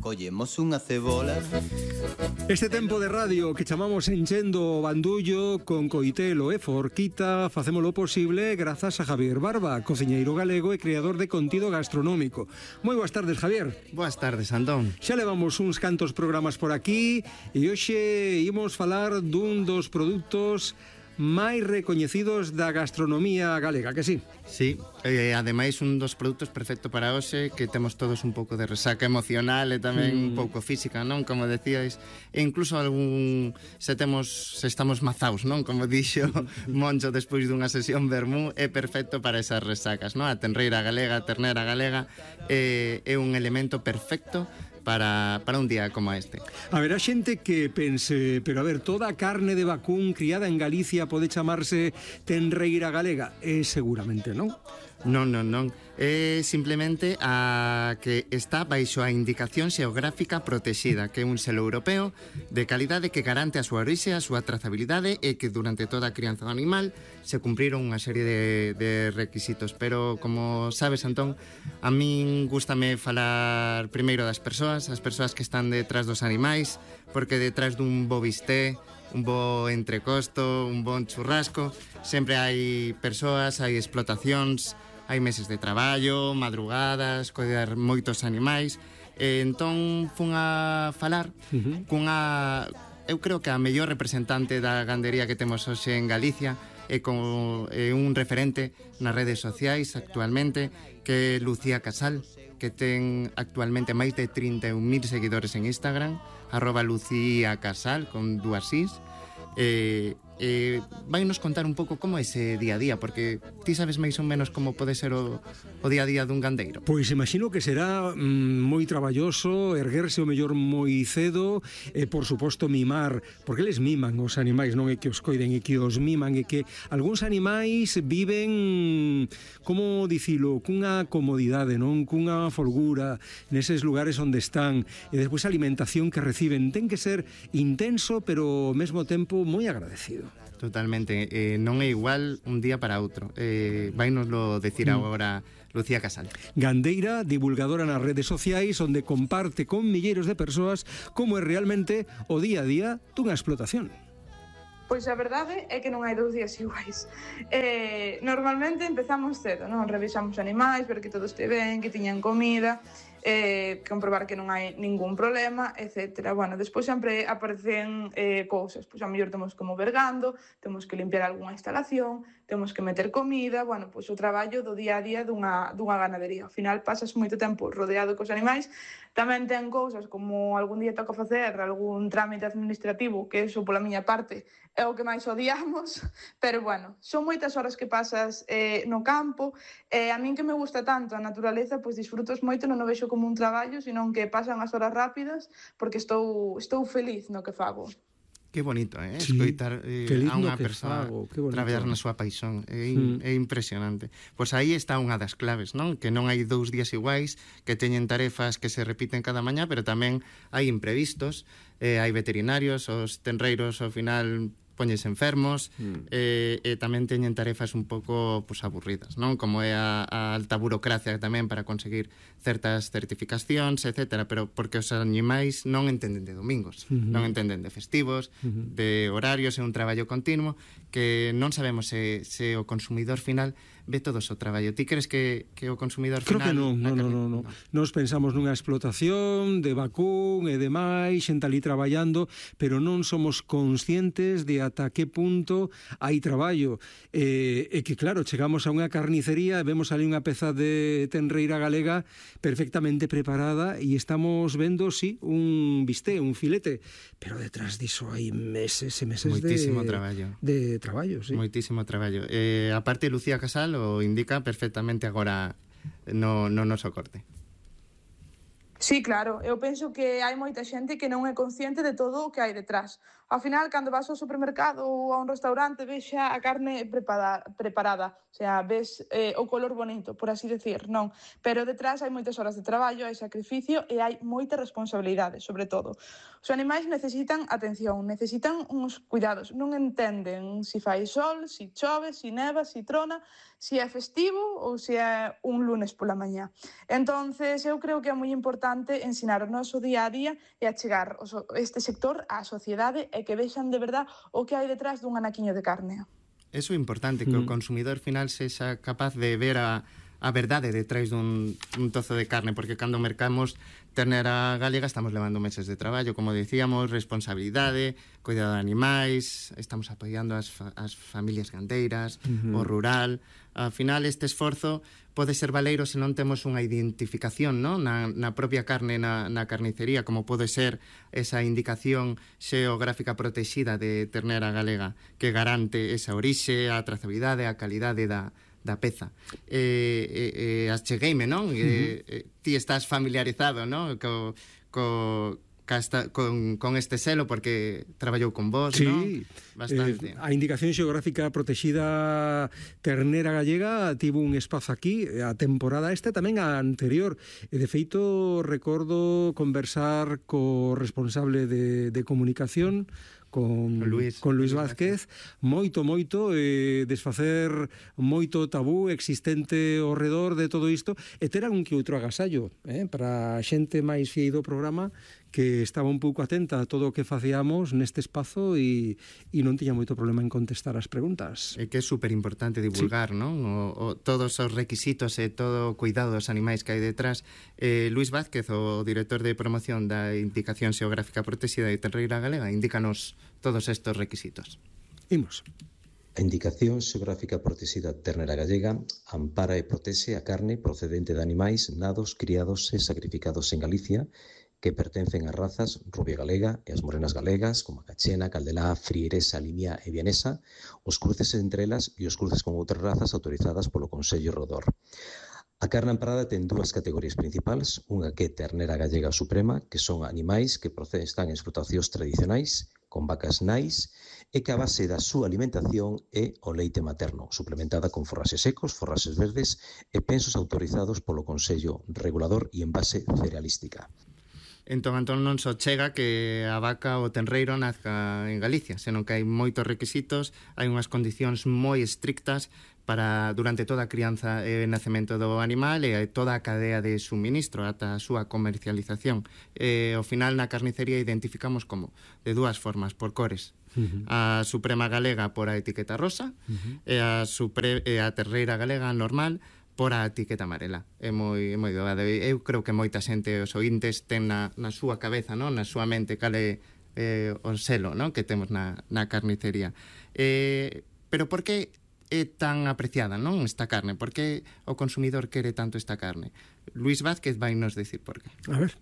collemos unha cebola. Este tempo de radio que chamamos Enchendo o Bandullo con coitelo e forquita facémolo posible grazas a Javier Barba, cociñeiro galego e creador de contido gastronómico. Moi boas tardes, Javier. Boas tardes, Antón. Xa levamos uns cantos programas por aquí e hoxe imos falar dun dos produtos máis recoñecidos da gastronomía galega, que sí? Sí, ademais un dos produtos perfecto para hoxe, que temos todos un pouco de resaca emocional e tamén un pouco física, non? Como decíais, e incluso se estamos mazaos, non? Como dixo Moncho despois dunha sesión vermú, é perfecto para esas resacas, non? A tenreira galega, a ternera galega é un elemento perfecto para un día como este. Haberá xente que pense, pero a ver, toda a carne de vacún criada en Galicia pode chamarse tenreira galega? Seguramente non. Non. É simplemente a que está baixo a indicación xeográfica protexida, que é un selo europeo de calidade que garante a súa orixe, a súa trazabilidade e que durante toda a crianza do animal se cumpriron unha serie de requisitos. Pero, como sabes, Antón, a min gústame falar primeiro das persoas, as persoas que están detrás dos animais, porque detrás dun bo bisté, un bo entrecosto, un bon churrasco, sempre hai persoas, hai explotacións, hai meses de traballo, madrugadas, coidar moitos animais. Entón fun a falar cunha, eu creo que a mellor representante da gandería que temos hoxe en Galicia, e con un referente nas redes sociais actualmente, que é Lucía Casal, que ten actualmente máis de 31.000 seguidores en Instagram, @LucíaCasal con 2 is. Vai nos contar un pouco como é ese día a día, porque ti sabes máis ou menos como pode ser o día a día dun gandeiro. Pois imagino que será moi traballoso, erguerse o mellor moi cedo e por suposto mimar, porque eles miman os animais, non é que os coiden, é que os miman, e que algúns animais viven, como dicilo, cunha comodidade, non, cunha folgura neses lugares onde están, e despois a alimentación que reciben ten que ser intenso, pero ao mesmo tempo moi agradecido. Totalmente, non é igual un día para outro. Vainoslo decir agora Lucía Casal. Gandeira, divulgadora nas redes sociais, onde comparte con milleiros de persoas como é realmente o día a día dunha explotación. Pois a verdade é que non hai 2 días iguais. Normalmente empezamos cedo, non? Revisamos animais, ver que todo este ben, que tiñan comida, comprobar que non hai ningún problema, etc. Bueno, despois sempre aparecen cousas, pois a mellor temos que mover gando, temos que limpiar algunha instalación, temos que meter comida, bueno, pois o traballo do día a día dunha ganadería. Ao final pasas moito tempo rodeado cos animais, tamén ten cousas como algún día toca facer algún trámite administrativo, que eso pola miña parte é o que máis odiamos, pero bueno, son moitas horas que pasas no campo, a min que me gusta tanto a naturaleza, pois disfrutos moito, non o vexo como un traballo, senón que pasan as horas rápidas, porque estou feliz no que fago. Que bonito, sí, escoitar a unha persoa traballar na súa paixón, é impresionante. Pois aí está unha das claves, non? Que non hai 2 días iguais, que teñen tarefas que se repiten cada mañá, pero tamén hai imprevistos, hai veterinarios, os tenreiros ao final poñes enfermos, e tamén teñen tarefas un pouco aburridas, non? Como é a alta burocracia tamén para conseguir certas certificacións, etcétera, pero porque os animais non entenden de domingos, non entenden de festivos, de horarios, é un traballo continuo que non sabemos se o consumidor final ve todo o seu traballo. Ti crees que o consumidor final... Creo que non. Nos pensamos nunha explotación de vacún e demais, xente ali traballando, pero non somos conscientes de ata que punto hai traballo. E que, claro, chegamos a unha carnicería e vemos ali unha peza de tenreira galega perfectamente preparada e estamos vendo, sí, un bisté, un filete, pero detrás diso hai meses e meses de traballo, sí. Moitísimo traballo. A parte, Lucía Casal o indica perfectamente agora no noso corte. Sí, claro, eu penso que hai moita xente que non é consciente de todo o que hai detrás. Ao final, cando vas ao supermercado ou a un restaurante, ves xa a carne preparada, o sea, ves o color bonito, por así decir, non. Pero detrás hai moitas horas de traballo, hai sacrificio e hai moita responsabilidade, sobre todo. Os animais necesitan atención, necesitan uns cuidados, non entenden se fai sol, se chove, se neva, se trona, se é festivo ou se é un lunes pola mañá. Entonces, eu creo que é moi importante importante ensinar o noso día a día e achegar este sector á sociedade e que vexan de verdad o que hai detrás dun anaquiño de carne. Eso é importante, que o consumidor final sexa capaz de ver a verdade detrás dun tozo de carne, porque cando mercamos ternera galega estamos levando meses de traballo, como decíamos, responsabilidade, cuidado de animais, estamos apoiando as familias gandeiras, o rural. Ao final, este esforzo pode ser valeiro se non temos unha identificación, ¿no? na propia carne, na carnicería, como pode ser esa indicación xeográfica protexida de ternera galega, que garante esa orixe, a trazabilidade, a calidade da peza. Achegueime, non? Ti estás familiarizado, non? Con este selo, porque traballou con vos, sí, non? Bastante. A indicación xeográfica protexida ternera gallega tivo un espazo aquí, a temporada esta tamén a anterior, e de feito recordo conversar co responsable de comunicación, con Luis Vázquez, moito, desfacer moito tabú existente ao redor de todo isto, e ter algún que outro agasallo, para a xente máis fiei do programa que estaba un pouco atenta a todo o que facíamos neste espazo e non tiña moito problema en contestar as preguntas. É que é super importante divulgar, sí, non? Todos os requisitos e todo o cuidado dos animais que hai detrás. Luis Vázquez, o director de promoción da Indicación Xeográfica Protexida de Ternera Galega, indícanos todos estes requisitos. Imos. A Indicación Xeográfica Protexida Ternera Gallega ampara e protexe a carne procedente de animais nados, criados e sacrificados en Galicia que pertencen ás razas rubia galega e as morenas galegas, como a cachena, caldelá, frieresa, limia e vienesa, os cruces entre elas e os cruces con outras razas autorizadas polo Consello Rodor. A carne amparada ten dúas categorías principais, unha que é ternera gallega suprema, que son animais que están en explotacións tradicionais, con vacas nais, e que a base da súa alimentación é o leite materno, suplementada con forraxes secos, forraxes verdes e pensos autorizados polo Consello Regulador e en base cerealística. Entón non só chega que a vaca ou o tenreiro nazca en Galicia, senón que hai moitos requisitos, hai unhas condicións moi estrictas para durante toda a crianza e nacemento do animal e toda a cadea de suministro ata a súa comercialización. Ao final na carnicería identificamos como de dúas formas, por cores. A Suprema Galega por a etiqueta rosa e a terreira galega normal por a etiqueta amarela. É moi doado. Eu creo que moita xente, os ointes, ten na súa cabeza, non? Na súa mente, cale o selo, non? Que temos na carnicería. Pero por que é tan apreciada, non? Esta carne? Por que o consumidor quere tanto esta carne? Luis Vázquez vai nos decir por qué. A ver.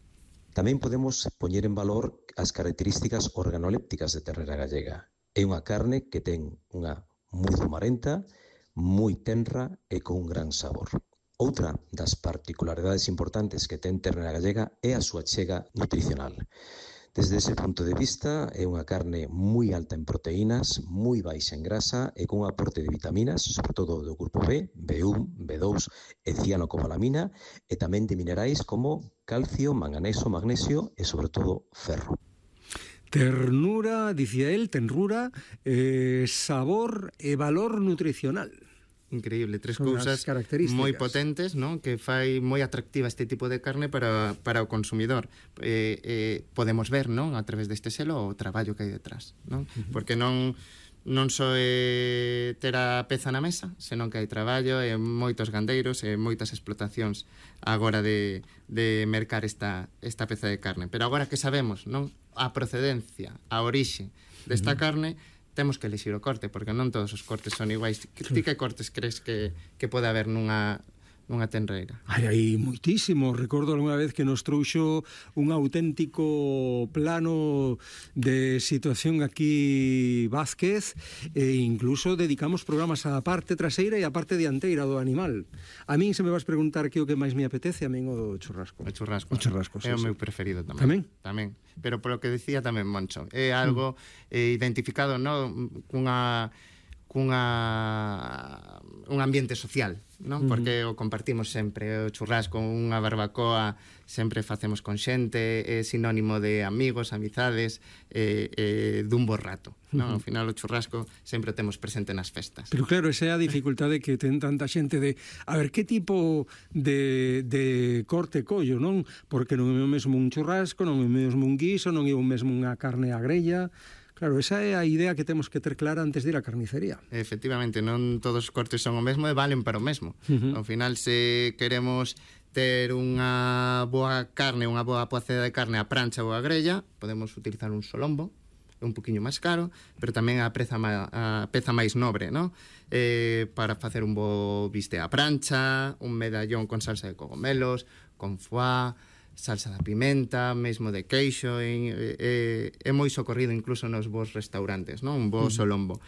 Tamén podemos poñer en valor as características organolépticas de ternera gallega. É unha carne que ten unha moi zumarenta, moi tenra e con un gran sabor. Outra das particularidades importantes que ten ternera gallega é a súa chega nutricional. Desde ese punto de vista, é unha carne moi alta en proteínas, moi baixa en grasa e con un aporte de vitaminas, sobre todo do grupo B, B1, B2 e cianocobalamina, e tamén de minerais como calcio, manganeso, magnesio e, sobre todo, ferro. Ternura, dicía él, tenrura, sabor e valor nutricional. Increíble, tres cousas moi potentes, non? Que fai moi atractiva este tipo de carne para o consumidor. Podemos ver, non? A través deste selo o traballo que hai detrás, non? Porque non só é ter a peza na mesa, senón que hai traballo e moitos gandeiros e moitas explotacións agora de mercar esta peza de carne. Pero agora que sabemos, non? A procedencia, a orixe desta carne, temos que elixir o corte, porque non todos os cortes son iguais. Ti que cortes crees que pode haber nunha tenreira? Hai moitísimo. Recordo alguna vez que nos trouxo un auténtico plano de situación aquí Vázquez, e incluso dedicamos programas á parte traseira e á parte dianteira do animal. A min, se me vas preguntar que o que máis me apetece, a min o churrasco. O churrasco. O churrasco, é o meu preferido tamén. Tamén. Pero polo que decía tamén Moncho, é algo identificado, non? un ambiente social, non? Porque o compartimos sempre, o churrasco, unha barbacoa, sempre facemos con xente, é sinónimo de amigos, amizades, dun bo rato, non? Ao final o churrasco sempre o temos presente nas festas. Pero claro, esa é a dificultade que ten tanta xente de, a ver, que tipo de corte collo, non? Porque non é o mesmo un churrasco, non é o mesmo un guiso, non é o mesmo unha carne á grella. Claro, esa é a idea que temos que ter clara antes de ir á carnicería. Efectivamente, non todos os cortes son o mesmo e valen para o mesmo. Ao final, se queremos ter unha boa carne, unha boa poceda de carne a prancha ou a grella, podemos utilizar un solombo, un poquinho máis caro, pero tamén a peza máis nobre, ¿no? Para facer un bo biste a prancha, un medallón con salsa de cogomelos, con foie, salsa da pimenta, mesmo de queixo, é moi socorrido incluso nos bons restaurantes, non? Un bo solombo.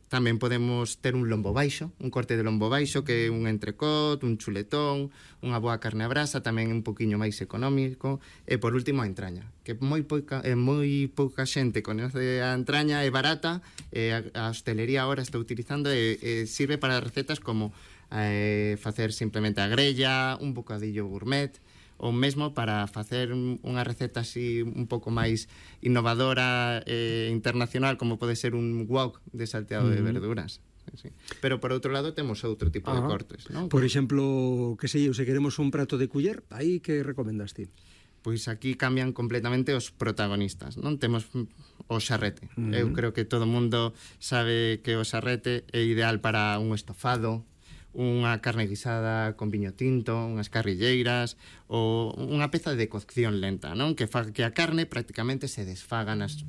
Tamén podemos ter un lombo baixo, un corte de lombo baixo, que é un entrecot, un chuletón, unha boa carne a brasa, tamén un poquinho máis económico, e por último a entraña, que moi pouca xente conoce a entraña, é barata, a hostelería agora está utilizando e sirve para recetas como facer simplemente a grella, un bocadillo gourmet, ou mesmo para facer unha receta así un pouco máis innovadora internacional, como pode ser un wok de salteado de verduras. Sí. Pero por outro lado temos outro tipo de cortes, non? Por exemplo, que sei eu, se queremos un prato de culler, aí que recomendas ti? Pois aquí cambian completamente os protagonistas, non? Temos o xarrete. Eu creo que todo o mundo sabe que o xarrete é ideal para un estofado, unha carne guisada con viño tinto, unhas carrilleiras ou unha peza de cocción lenta, non? Que fa que a carne prácticamente se desfaga nas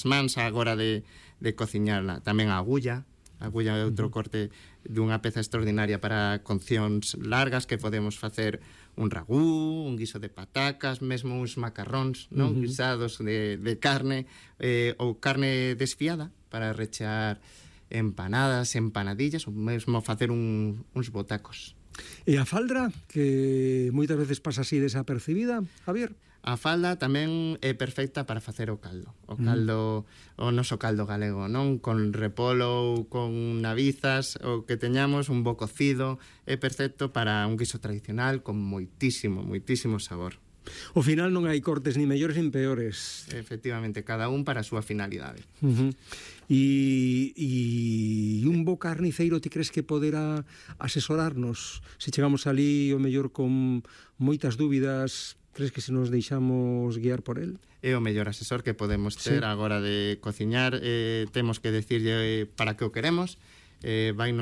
mans á hora de cociñarla. Tamén a agulla é outro corte dunha peza extraordinaria para coccións largas, que podemos facer un ragú, un guiso de patacas, mesmo uns macarróns, non? Guisados de carne, ou carne desfiada para rechear empanadas, empanadillas, ou mesmo facer uns botacos. E a faldra, que moitas veces pasa así desapercibida, Javier? A falda tamén é perfecta para facer o caldo. O caldo, o noso caldo galego, non? Con repolo ou con navizas, o que teñamos, un bo cocido, é perfecto para un guiso tradicional con moitísimo sabor. Ao final non hai cortes ni mellores nin peores. Efectivamente, cada un para a súa finalidade. E un bo carniceiro ti crees que poderá asesorarnos? Se chegamos ali o mellor con moitas dúbidas, crees que se nos deixamos guiar por el? É o mellor asesor que podemos ter a hora de cociñar. Temos que decirlle para que o queremos, vai